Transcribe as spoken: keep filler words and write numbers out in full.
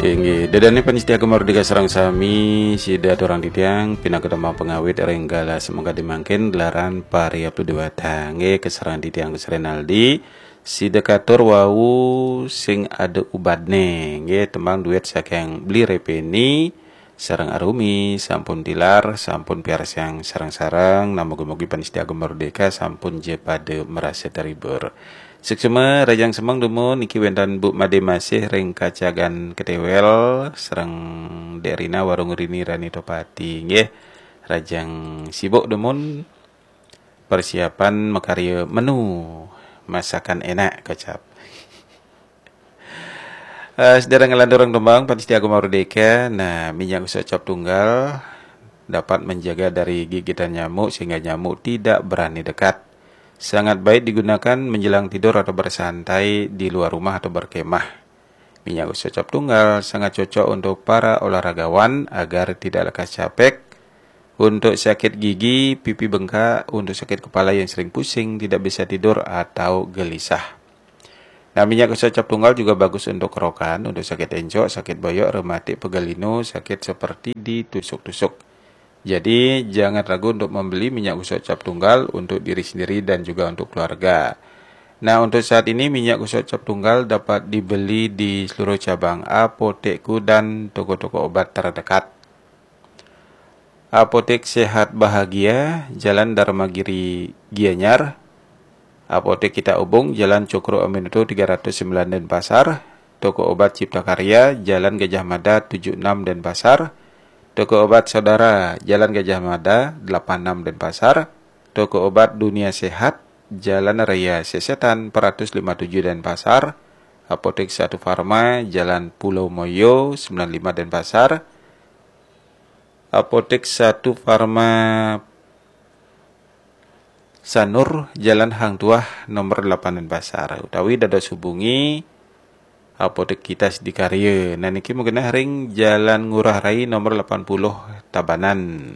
Inggih, ida dané pamiarsa Gema Merdeka sareng sami, sida aturang titiang pinaka tembang pangawit ring galah semengkadi mangkin gelaran pariab dua tangge kasareng titiang Gus Renaldi. Sida katur wau sing ada ubadné, nggih, tembang duet saking Bli Repeni sareng Arumi sampun tilar, sampun piarsang sareng-sareng, nah mugi-mugi pamiarsa Gema Merdeka sampun ja pada marasa terhibur. Suksma, rahajeng semeng dumun, niki wénten Bu Made Masih ring Kacagan Ketéwél, sareng Dék Rina Warung Rini Rani Topati, nggih. Rahajeng sibuk dumun persiapan makarya menu masakan enak kecap. Eh, sedereng nglanturang tembang pamiarsa Gema Merdeka, nah, minyak gosok cap tunggal dapat menjaga dari gigitan nyamuk sehingga nyamuk tidak berani dekat. Sangat baik digunakan menjelang tidur atau bersantai di luar rumah atau berkemah. Minyak gosok cap tunggal sangat cocok untuk para olahragawan agar tidak lekas capek, untuk sakit gigi, pipi bengkak, untuk sakit kepala yang sering pusing, tidak bisa tidur atau gelisah. Nah, minyak gosok cap tunggal juga bagus untuk kerokan, untuk sakit encok, sakit boyok, rematik, pegal linu, sakit seperti ditusuk-tusuk. Jadi, jangan ragu untuk membeli minyak gosok cap tunggal untuk diri sendiri dan juga untuk keluarga. Nah, untuk saat ini minyak gosok cap tunggal dapat dibeli di seluruh cabang apotekku dan toko-toko obat terdekat. Apotek Sehat Bahagia, Jalan Dharmagiri Gianyar. Apotek Kita Ubung, Jalan Cokroaminoto tiga ratus sembilan Denpasar. Toko Obat Cipta Karya, Jalan Gajah Mada tujuh enam Denpasar. Toko Obat Saudara, Jalan Gajah Mada delapan enam Denpasar. Toko Obat Dunia Sehat, Jalan Raya Sesetan empat ratus lima tujuh Denpasar. Apotek Satu Farma, Jalan Pulau Moyo sembilan lima Denpasar. Apotek Satu Farma Sanur, Jalan Hang Tuah nomor delapan Denpasar. Utawi dados hubungi Apotek Kita Sidakarya. Nah, niki magenah ring Jalan Ngurah Rai nomor delapan puluh Tabanan.